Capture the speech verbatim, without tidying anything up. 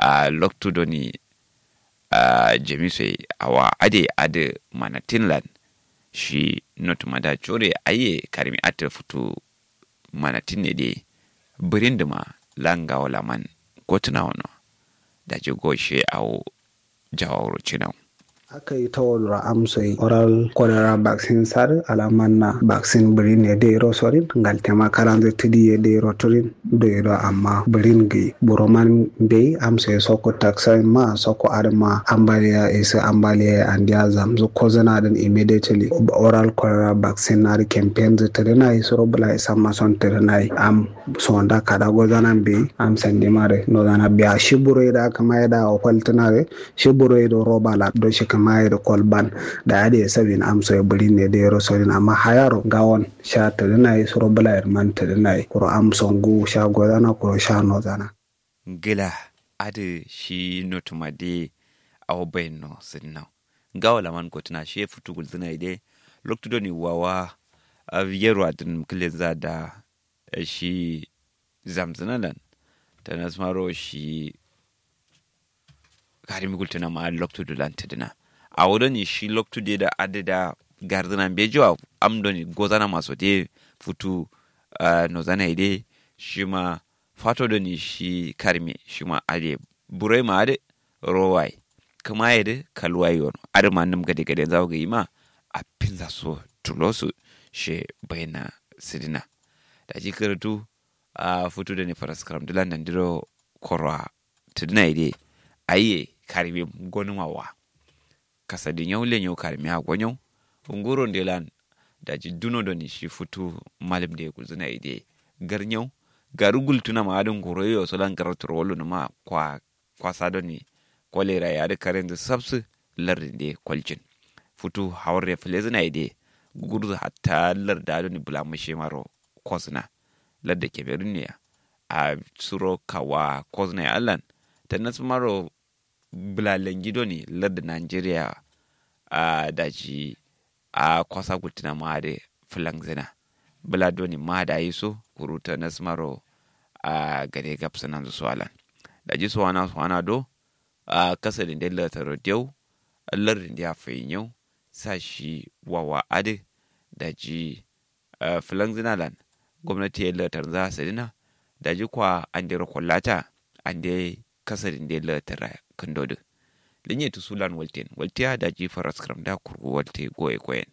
a loktu doni a jamiso ye awa ade adǝ manatin lan shi notuma da coro ye aiye karimi attǝ futu manatin ne de bǝrin dǝma la ngawo laman gotǝna wono daji goshe awo jawawuro cinau. Aka yi tawalura amso yi oral cholera vaccine sadǝ alamanna vaccine bǝrin ye dai ro sorin ngalte ma karanzǝ tǝdi ye dai ro turin doi do amma bǝrin gǝyi buro man mbeyi amso ye soko taksayin ma soko adǝ ma ambaliya isǝ ambaliya ye andiya zamzǝ kozǝna dǝn immediately oral cholera vaccine adǝ campaign zǝ tǝdǝna yi suro bǝla isamma son tǝdǝna yi am sonda kada gozana mbeyi am sandima dǝ nozana biya shi buro ye da kǝma ye da ofaltǝna dǝ shi buro ye do roba la do shi kǝma ye do kolban da adǝ ye sabin amso ye bǝrin ne dai ro sorin amma hayaro ngawon sha tǝdǝna ye suro bǝla ye man tǝdǝna ye kuro amso ngu sha gozana kuro sha nozana. Ngla adǝ shi notuma de awo bayin no sǝdǝna ngawo laman gotǝna shi ye futu gulzǝna ye de loktu doni wawa yerwa dǝn kǝlenza da shi zamzǝna lan tanasmaro shi karimi gultǝna ma adǝ loktu dǝ lan tǝdǝna awo doni shi loktu de da adǝ da garzǝna mbeji wa am doni gozana ma so de futu nozana ye de shima fato doni shi karimi shima adǝ buroi ma adǝ rowai kǝma ye dǝ kalwai yono adǝ ma nǝm gade gade nzawo gǝyi ma apinza so tulosu she baina sǝdǝna daji kǝrǝtu a futu doni faraskaram dǝlan nandiro korwa tǝdǝna ye de aiye karimi gonǝma wa kasadǝ nyau lenyau karmiya gonyau nguro nde lan daji duno doni shi futu malum de gulzǝna ye de garnyau garu gultuna ma adǝ nguro ye so lan garaturo wallo numa kwa kwasa doni kolera ye adǝ karenzǝ sabsǝ lardǝ nde kolcin futu hawarre fǝlezǝna ye de gugurzu hatta larda doni bǝla mǝshe maro kozǝna larda kemerun ne ya a suro kawa kozǝna ye allan tanasmaro bǝla lenji doni lardǝ nigeria a daji a kwasa gultǝna ma adǝ fǝlangzǝna bǝla doni ma dayi so kuru tanasmaro a gade gabsǝnanzǝ so alan daji sowana sowana do a kasadǝ nde lardǝ taro deu lardǝ nde afai nyau sa shi wawa adǝ daji fǝlangzǝna lan gomnati ye latar nza sǝdǝna daji kwa andero kollata ande kasadǝ nde latar kǝndo dǝ lǝnye tusu lan walten waltiya daji faraskaram da kurgu walte goye koyen.